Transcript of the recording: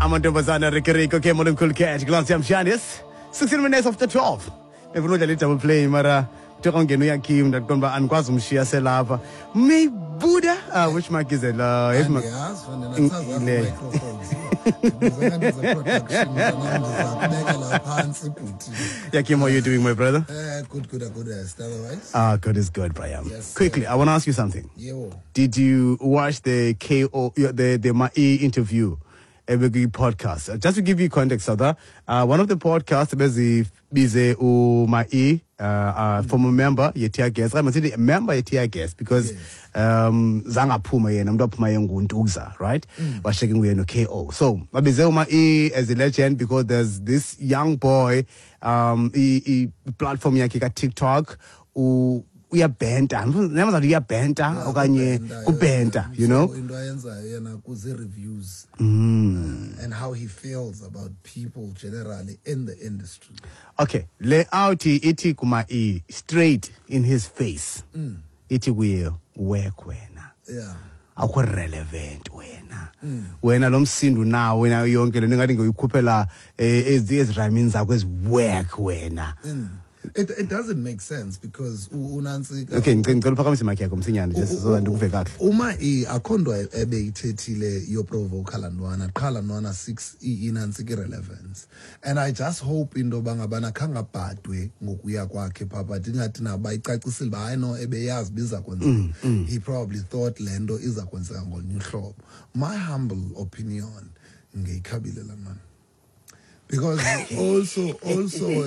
Amantombazana Ricky. Okay, Molem Cool Cat. Glance yam Shanis. 16 minutes after 12. Befuna udlala i-double play mara kuthiwa ungena uyakim, ndaqonda uba andikwazi umshiya selapha. Maybuda, which mic is it? If Andiyazi, fanele asazi microphones. Ndibizeka ndize production, mntanam, ndizakubeka la phantsi, bhuti. Yakim, how are you doing, my brother? Good, good, good. Otherwise? Ah, good is good, Brian. Yes. Quickly, I want to ask you something. Yebo. Did you watch the KO, the Mai interview, ebekwi podcast? Just to give you context, Sada, one of the podcasts bezibize uMai, former member ye-Tear Gas. I'm saying member ye-Tear Gas because zangaphuma yena, umuntu waphuma yenguntuza, right? Washeke nguye no-KO. So babize uMai as a legend because there's this young boy, i-platform yakhe ka-TikTok, uyabhenta, nemazathi uyabhenta okanye kubhenta, you know? So into ayenzayo yena kuzi-reviews and how he feels about people generally in the industry. Okay, le out ithi kuma e straight in his face. Ithi kuye, "Work wena. Akho relevant wena. Wena lo msindo nawo wena, yonke le ngathi ngoyikhuphela ezi ezirhymini zakho ezi work wena." It doesn't make sense because unantsika. Okay, ngicela uphakamise mic yakho msinyane, just so that ndikuve kakuhle. Uma i akho nto ebeyithethile yoprovoka laa ntwana, qha laa ntwana six inantsika irelevance, and I just hope into yoba ngabana khangabhadwe ngokuya kwakhe phaa, but ingathi naba icacisile uba hayi no, ebeyazi uba iza kwenzeka. He probably thought le nto iza kwenzeka ngolunye uhlobo. My humble opinion, ngeyikhabile laa ntwana because also